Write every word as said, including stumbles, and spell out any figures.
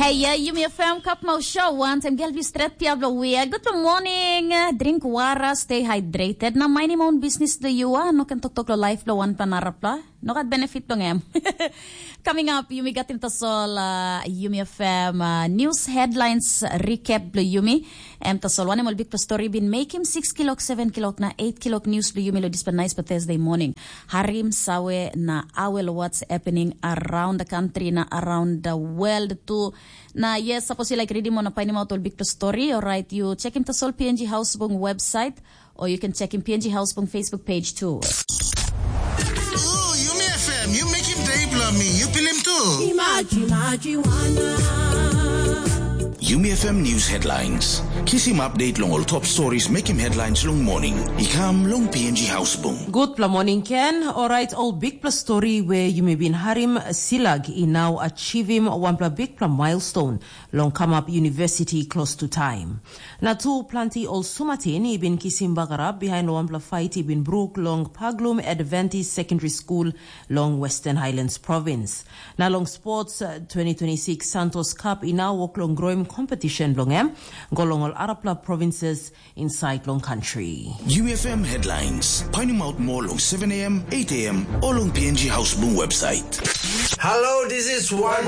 Ia, Yumi F M Kapmau Show, wantaim gel blu stret pia blo wia. Good morning, drink wara, stay hydrated. Na minding my own business do you are, no ken toktok lo life blo wanpla narapla. No gat benefit dong em. Coming up, Yumi gatim tasol uh, Yumi F M uh, news headlines recap blo Yumi. Em tasol wanem ol bikpela story bin mekim six kilok, seven kilok na eight kilok news blo Yumi lo dispela nice pa Thursday morning. Harim sawe na awel what's happening around the country na around the world too. Na yes, sapos you like reading mo na painim out ol bikpela story, alright, you check him tasol P N G Housebung website or you can check him P N G Housebung Facebook page too. Ooh, Yumi F M, you make him day blo me, you feel him too. Imaji, imaji, wana. Yumi F M News Headlines. Kisim update long ol top stories mekim headlines long morning. I kam long P N G Housebung. Gutpela morning Ken, orait ol bikpela story we yumi bin harim, Silag i nau achievim wanpela bikpela milestone long kamap university close to time. Na tu planti ol sumatin i bin kisim bagarap behind wanpela fight i bin bruk long Paglum Adventist Secondary School long Western Highlands Province. Na long sports uh, twenty twenty-six Santos Cup i nau wok long groim competition bilong em, go long ol arapela provinces inside long country. U F M headlines. Painim out more long seven a m, eight a m, or long P N G Housebung website. Hello, this is One